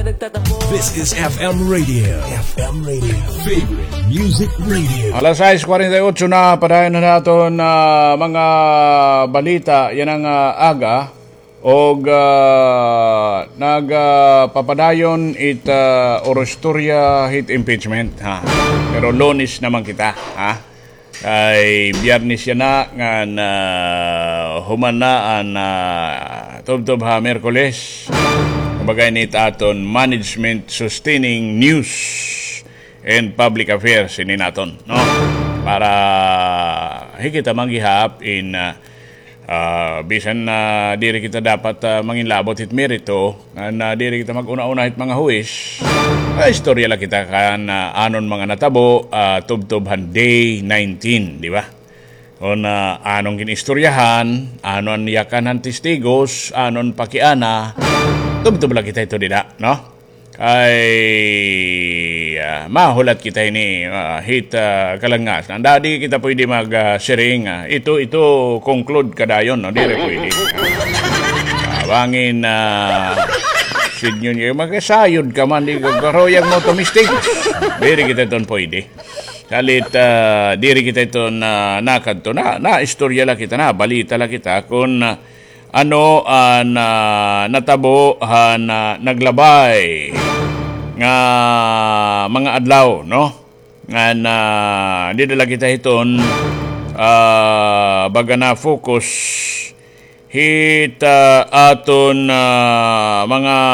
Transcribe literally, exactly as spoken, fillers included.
This is F M Radio. F M Radio. Favorite Music Radio. Alas sais kwarenta y otso na, padayon na naton, ah, mga balita yana nga, ah, aga. Og, ah, nag, ah, papadayon it, ah, oro istorya hit impeachment, ha. Pero Lunes naman kita, ha. Kay Biyernes yana ngan, ah, human na an, ah, tubtob ha Miyerkules. Kumbaga, ini it aton management sustaining news and public affairs ini naton, no? Para hikit man gihap in, ah, ah, bisan na diri kita dapat, ah, manginlabot hit merito, ngan, ah, diri kita mag-una-una hit mga huwis. Ah, istorya la kita kan, ah, anon mga natabo, ah, tubtob han day nineteen, di ba? Kon, ah, anon gin-istoryahan, ano an yakan han testigos, anon pakiana, tubtob la kita ito dida, no? Kay, ah, mahulat kita ini, ah, hit, ah, kalangas. Nanda, di kita pwede mag, ah, siring, ah, ito, ito, conclude ka dayon, no? Diri pwede. Ah, bangin, ah, sidngon niya, magasayod ka man, di ka karuyag mo tumistig. Diri kita iton pwede. Kalit, ah, diri kita iton, ah, nakadto na, na istorya la kita, na balita la kita, kun, ah, ano an, ah, natabo han, ah, naglabay nga mga adlaw, no? Ngan, ah, dida la kita hiton, ah, baga na-focus hit, ah, aton, ah, mga